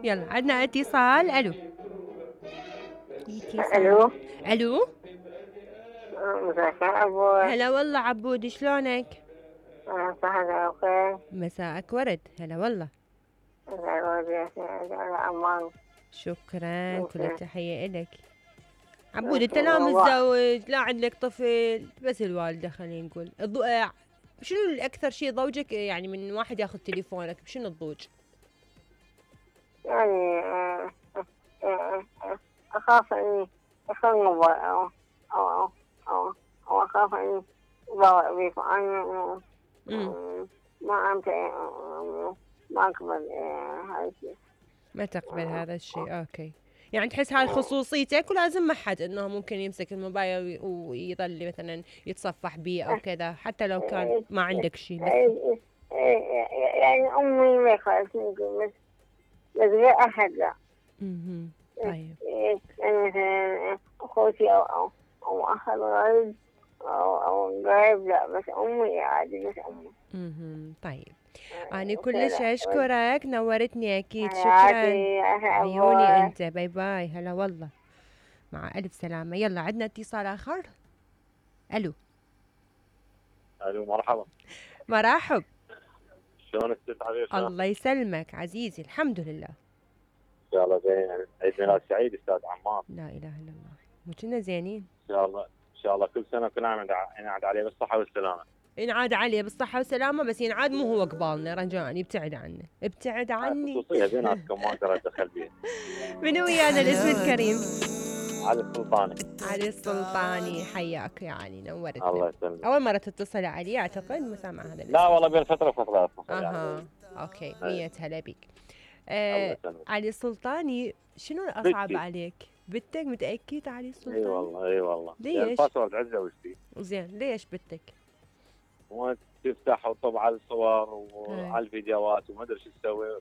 يلا عندنا اتصال. الو اتصال. الو. الو مساء الخير ابوي. هلا والله عبود، شلونك؟ صحة وخير. مساءك ورد. هلا والله. أمان. شكرا، كل ممكن التحية إلك. عبود ممكن انت لا الموضوع. متزوج لا عندك طفل، بس الوالدة خلينا نقول شنو الأكثر شيء ضوجك يعني من واحد ياخذ تليفونك؟ بشنو الضوج؟ يعني أخاف إني أخرب أو أو أخاف إني أضاوع بيكم. أنا امم ما أنت ما أقبل هذا الشيء. ما تقبل هذا الشيء، اوكي. يعني تحس هاي خصوصيتك ولازم ما حد انه ممكن يمسك الموبايل ويظل مثلا يتصفح بيه او كذا، حتى لو كان ما عندك شيء بس. يعني أمي ما خالتني بس غير أحد لا. طيب. يعني مثلا أخوتي أو أخ الغريب أو قريب لا، بس أمي عادي، بس أمي. طيب. أنا كلش كذا أشكرك، نورتني أكيد. شكرا. عادي عيوني أبوي. أنت. باي باي. هلا والله. مع ألف سلامة. يلا عندنا اتصال آخر. ألو. الو مرحبا. مرحب. شلونك ست عفيفة؟ الله يسلمك عزيزي، الحمد لله. ان شاء الله زين. عيد ميلاد سعيد استاذ عمار. لا إله إلا الله. مو كنا زينين؟ ان شاء الله ان شاء الله كل سنة كلنا نعد عليه بالصحة والسلامة. ينعاد عليه بالصحة والسلامة، بس ينعاد مو هو قبالنا رجاء، يبتعد عنه، ابتعد هاي عني. خصوصية بيناتكم ما اقدر اتدخل بيها. من ويانا الاسم الكريم؟ علي السلطاني. علي السلطاني، حياك يعني، نورتنا. الله يسلمك. أول مرة تتصل علي أعتقد، مسامع هذا الاسم. لا والله بين فترة وفترة اتصل أها. يعني. أوكي، أي. 100 هلا بك. الله يسلمك. علي السلطاني، شنو الأصعب بنتي. عليك؟ بنتك؟ متأكد علي اي السلطاني؟ والله اي والله. ليش؟ الباسورد عزة وشتي. زين، ليش بنتك؟ وتفتح وتطبع على الصور هاي. وعلى الفيديوهات وما ادري شو تسوي.